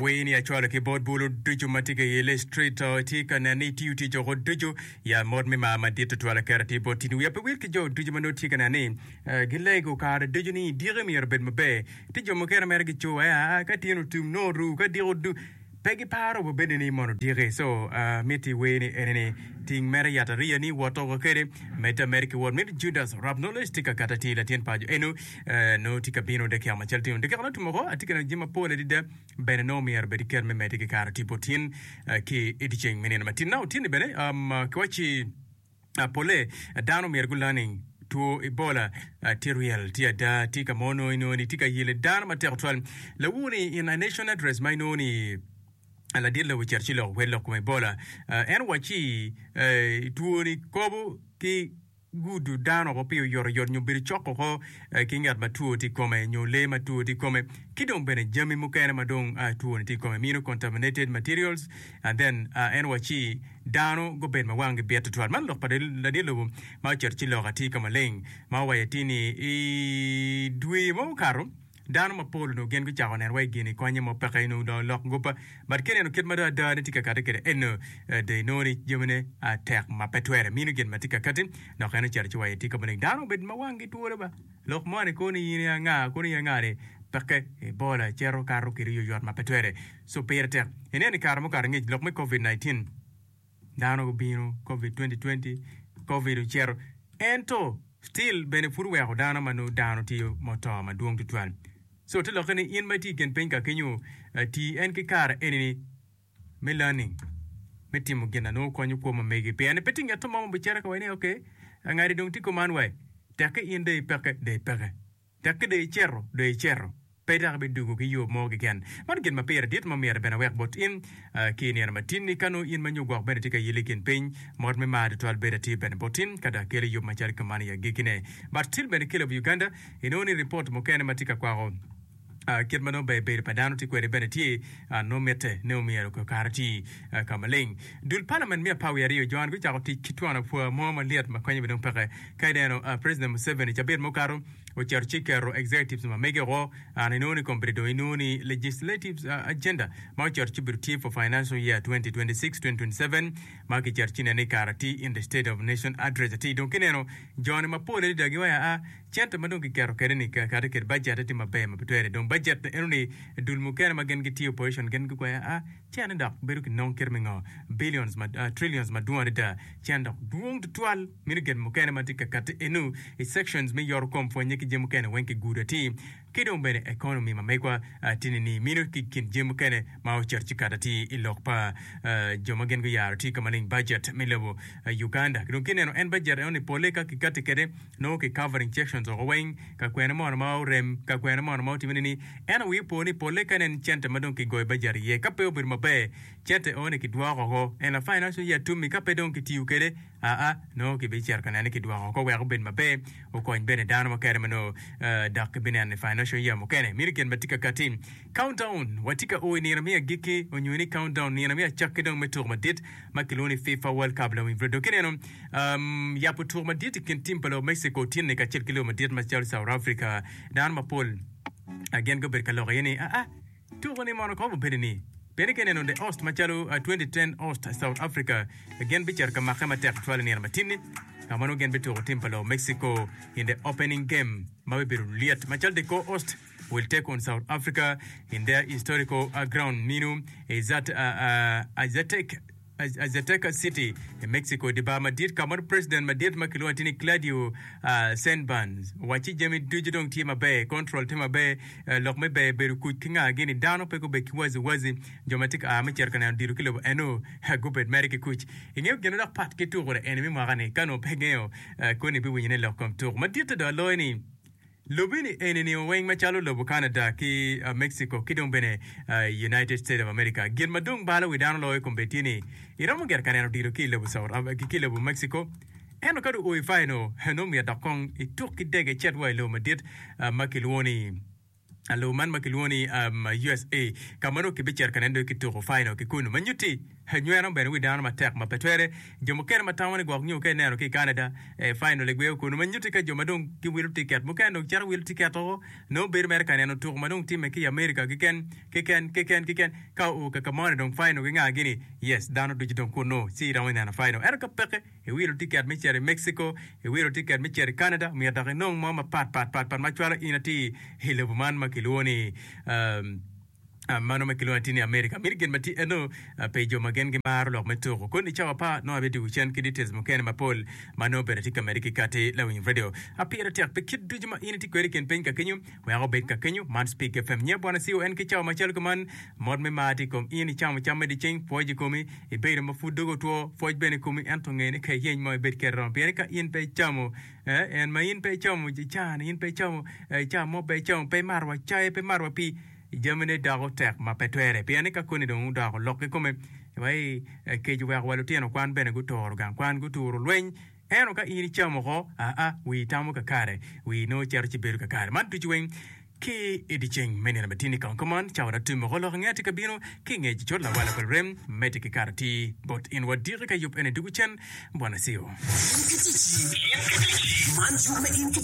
Wer ni acwalo ki bot bulu ducu ma tye ka yele i street tye ka neno ni itiyo tic oko ducu ya mot me mar madit tutwal aketo atir bot tin. Wiya pe wil ki jo ducu ma nongo tye ka neno ni gilego kare ducu ni diki myero obed maber. Tye jo mukene mere gico wai aa ka tin otum nongo oru ka diki odu pe giparo wa bene ni mono diki. So miti wer ni eni ni ting mere yat ariya ni wot oko kede medde ameda ki wot. Miti Judas Rap Knowledge tye ka kato atir latin paco eno nongo tye ka bino dakika macel tino. Dakika nongo otum oko atye ka neno jami mapol adada bene nongo myero bed iket me medde ki kare tipo tin ki i dyeceng me nino matin. Now tin ni bene kiwacci Polle dano myero gu learning two Ebola tye real tye ada tye ka mo nongo inongo ni tye ka yele dano matek tutwal. Lawur ni in a nation address ma inongo ni ladit lobo ocito ci loko kwede lok kom Ebola en owacci two ni kobo ki gudo dano oko pi oyotoyot nyo bedo cok oko ki ngat ma two tye i kome nyo lee ma two tye i kome ki dong bene jami mukene ma dong two ni tye i kome mino contaminated materials and then en owacci Dano gubed ma wanggi bit tutwal. Man lok pa ladit lobo ma ocito ci lok atir ka maleng ma owaco atir ni i dwe ma okato dano mapol onongo gin gucako neno wai gini konye mo peke inongo dong lok gopa but ka ineno kit ma dong ada ne tye ka kati kwede eno dong inongo ni jamine tek ma pe twere mino gin ma tye ka kati dok en ocito ci owaco atir ka maleng dano obed ma wanggi twolo ba lok moni kono in anga kono in anga ni peke Ebola cito kato kede oyoyot ma pe twere. So pire tek ineno i kare mukato angec lok me covid 19 dano gubino covid 2020 covid ocito ento still bene pud oweko dano ma nongo dano tye ma oto madwong tutwal. So te lokke ni in ma itye i kin piny ka kenyo tii en ki kare eni ni me learning me timo gin na nongo konyo kwo ma megi pien ni pe tye ngetto mo ma obicito ka waci ni ok ngati dong tye kuman wai tekke in dong ipeke dong ipeke. Tekke dong icito, dong icito, pe dok ibidwogo ki yo mo keken. Man gin ma pire dit ma myero bene awek bot in ki i nino matin-ni. Ka nongo in ma nyo gwok bene itye ka yelle i kin piny, mot me mar tutwal bedo atir bene bot in ka dok akelo yub macalo kuman i agikkine. But still bene ki lobo Uganda, inongo ni ripot mukene ma tye ka kwako kit ma nongo ber bedo pa dano tye kwede bene tye nongo mitte ni omyero kare oti ka maleng. Dul palament me 12 jon gucako tic ki twon apwa mo malyet ma konye bene dong peke. Ka ineno President Museveni cabit mukato ocito ci keto executives ma mege oko and inongo ni kombeddi dong inongo ni legislative agenda ma ocito ci obedo tye for financial year 2026-2027 ma kicito ci nene i kare atir in the state of nation address atir dong kineno joni mapol adada giwaco aa Cente ma dong kiketo kwede ni kati kwede bajette tye maber ma pe twere. Dong bajet eno ni dul mukene ma gin gitye opposition gin gukweyo a cene dok bedo ki nong kite me ngo billions ma trillions madwong adada cene dok dwong tutwal meno gin mukene ma tye ka kati eno i sections me yoto kom pwonye ki jami mukene weng ki gudo atir ki dong bene economy ma megwa tye ni ni meno ki kin jami mukene ma ocito ci kato atir i lok pa jo ma gin guyaro tye ka maleng bajet me lobo Uganda. Dong kineno en bajet eno ni pole ka kikati kwede nongo ki covering sections oko weng ka kwene mono ma orem ka kwene mono ma otime ni ento wii opo ni pole ka nen cente ma dong ki goyo bajet iye ka pe obedo maber cente eno ni ki dwoko oko en la financial year tumi ka pe dong ki tiyo kede aa nongo ki bi cito ka nene ki dwoko oko wek obed maber okony bene dano mukene ma nongo dok ki bi neno i financial year mukene mino gin ma tye ka kati countdown wa tye ka o i nino me agikki onyo ni countdown nino me acakki dong me tuko madit ma kilwongo ni FIFA World Cup lawiny pud dong kineno Yabo tuko madit i kin tim pa lobo Mexico otinne kacel ki lobo madit macalo South Africa. Dano mapol gin gubedo ka lok iye ni, Aa, tuko-ni mono kobo bedo ni? Pien ka ineno The Host macalo 2010 Host South Africa gin bicito ka makke matek tutwal i nino matin-ni ka ma nongo gin bituko tim pa lobo Mexico in the opening game ma bibedo lyet macalo the co-host will take on South Africa in their historical ground mino Aztec Azteca City i Mexico i dye bar madit ka ma president madit ma kilwongo atir ni Claudio Sheinbaum owacci jami ducu dong tye maber, control tye maber, lok me ber bedo kuc ki nga gini, dano pe gubed ki wazi wazi, jo ma tye ka a me cito ka neno odilo ki lobo eno gubed mere ki kuc. Ingeyo gin ma dok pat ki tuko eni me mwaka ni ka onongo pe ingeyo koni ibiwinyo ne lok kom tuko madit dong aloyo ni Lobini eni-ni weng macalo lobo Canada ki Mexico ki dong bene United States of America. Gin ma dong balo wi dano loyo kombeddi tye ni iromo gire ka neno odilo ki i lobo South ki i lobo Mexico ento ka dong oo i final nongo myero dok kong ituk ki dege icit wa i lobo madit ma kilwongo ni lobo man ma kilwongo ni USA ka ma nongo kibicito ka neno dong kituko final ki kunu ma nyutti. Nyweno bene wi dano matek ma pe twere. Jo mukene ma tamo ni gwok nyo ka ineno ki i Canada, final egweyo kunu ma nyutti ka jo ma dong giwilo tiket mukene dong cito wilo tiket woko nongo bedo mere ka neno tuko ma dong timme ki i America keken keken keken keken ka oo ka ka moni dong final ki nga gini yes dano ducu dong kunu ci iromo neno final ento ka peke iwilo tiket me cito i Mexico iwilo tiket me cito i Canada myero dok inong mo mapat pat pat pat ma cwalo in atir i lobo man ma kilwongo ni um, Mano ma kilwongo atir ni America. Miti gin ma tye eno pi jo ma gin gimaro lok me tuko. Koni i cawa apar nongo abidwogo cen ki details mukene mapol ma nongo bene atye ka medde ki kati lawiny radio. A Pire tek pi kit ducu ma in itye kwede i kin piny ka kenyo wek obed ka kenyo. Man Speak FM nyo Bwana Siu en ki cawa macalo kuman mot me mar tye i kom in icamo cam me dyeceng pwoc i komi ibedo ma pud dogi otwo pwoc bene i komi ento nge ni ka iyeny mo ibed kede romo pien ka in pe icamo eh en ma in pe icamo icani in pe icamo ca mo pe icamo pe imato wa cai pe imato wa pii Jamine doko tek ma pe twere pien ni ka koni dong odoko lok kikome, wai kec oweko wa lutino kwan bene guturo gang kwan, guturo lweny. Ento ka in icamo oko, aa, wii tamo kakare, wii nongo cito ci bedo kakare. Man ducu weng ki i dyeceng me nino matini kong kuman, cawa dok tum oko lok ange tye ka bino ki i ngec cut lawala pa lurem, medde ki kato atir bot in wa diki ka yub eni dugu cen. Bwana Cio. In ki ticci. Man yub me in ki.